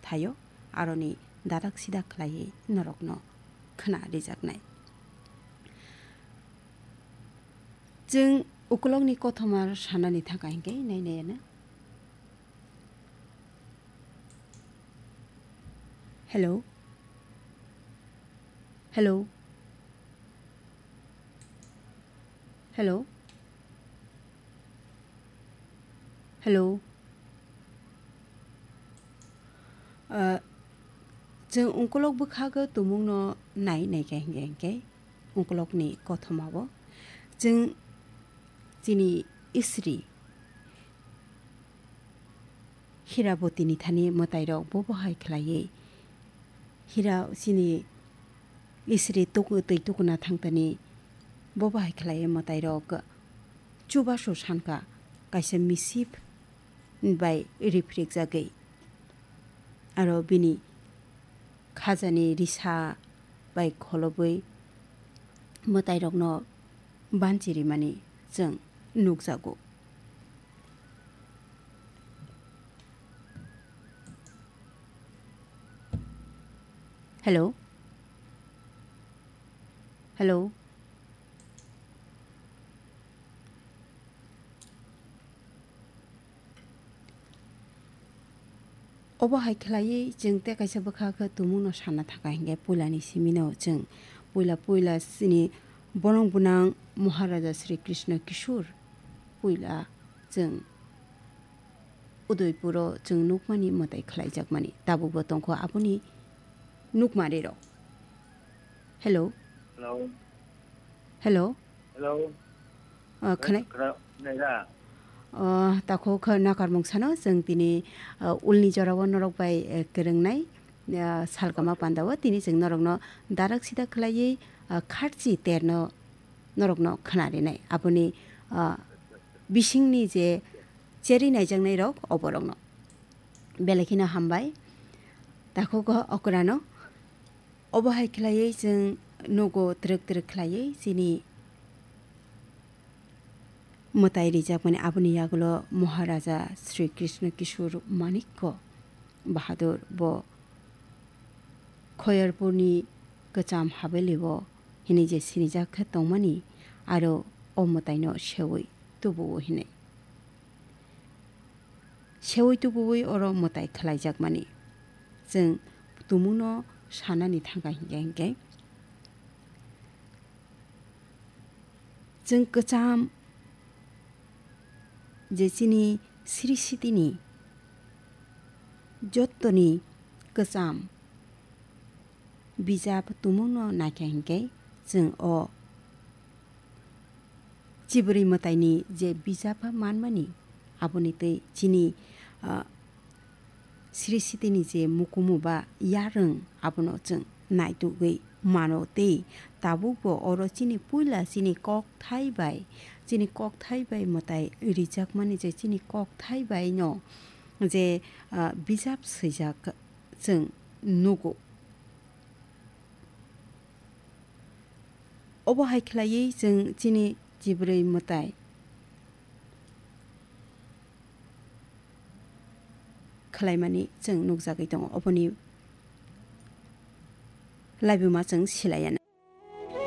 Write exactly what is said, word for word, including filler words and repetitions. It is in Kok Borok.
thaio, aroni dadak sidak khlaiwi norokno khna rijaknai. Chwng ukulokni kothoma sanani thangkha hinkhe nai nai ano. Hello. Hello. Hello. Hello. Ah, chwng ungkolok bwkhago tumungno nai naikha hinkhe hinkhe ungkolokni kothomao chwng chini Isri Hirabotini thani mwtairok bobo hai khlaiwi, Hira chini Isri tuku-, twi tukuna thangtani bobo hai khlaiwi mwtairok chubasu sankha kaisa misip bai riphrikjagwi. Aro bini khajani risa bai kholobwi mwtairokno banchi rimani chwng nukjago. Hello? Hello? Obo hai khlaiwi chwng tei kaisa bwkha khe tumungno sana thangkha hinkhe puilani simino chwng puila puila chini bolong bwnang Maharaja Sri Krishna Kishore puila chwng Udaipuro chwng nukmani mwtai khlaijakmani tabukbo tongkho aboni nukmarirok. Hello. Hello. Hello. Hello. Ah, khwnai? Khna-, khnaida? Ah, takho kha nakarmung sano chwng tini, ah, ulni jorao norok bai, eh, kwrwngnai, ah, salkama pandao tini chwng norokno darak sida khlaiwi, ah, kharchi terno norokno khna rinai. Aboni, ah, bisingni je cheri naijaknairok oborokno. Belai kheno hambai. Takhugo okrano. Obo hai khlaiwi chwng nugo twrwk twrwk khlaiwi chini mwtai rijakmani aboni yagulo Maharaja Sri Krishna Kishore Manikya Bahadur bo Khoyarpurni kwcham habelio hinwi je sinijak khe tongmani aro o mwtaino seui tubuo hinwi. Seui tubuui oro mwtai khlaijakmani. Chwng tumungno sanani thangkha hinkhe hinkhe. Chwng kwcham je chini srishitini jottoni kwcham bijap tumungno naikha hinkhe chwng o chibrwi mwtaini je bijap manmani aboni twi chini, ah, srishitini je mukumu ba yarwng abono chwng naitugwi mano tei tabukbo oro chini puila chini kokthai bai, chini kokthai bai mwtai rijakmani je chini kokthai bai no je, ah, bijap swijak chwng nugo. Obo hai khlaiwi chwng chini chibrwi mwtai khlaimani chwng nukjagwi tongo. Oboni laibuma chwng silaiya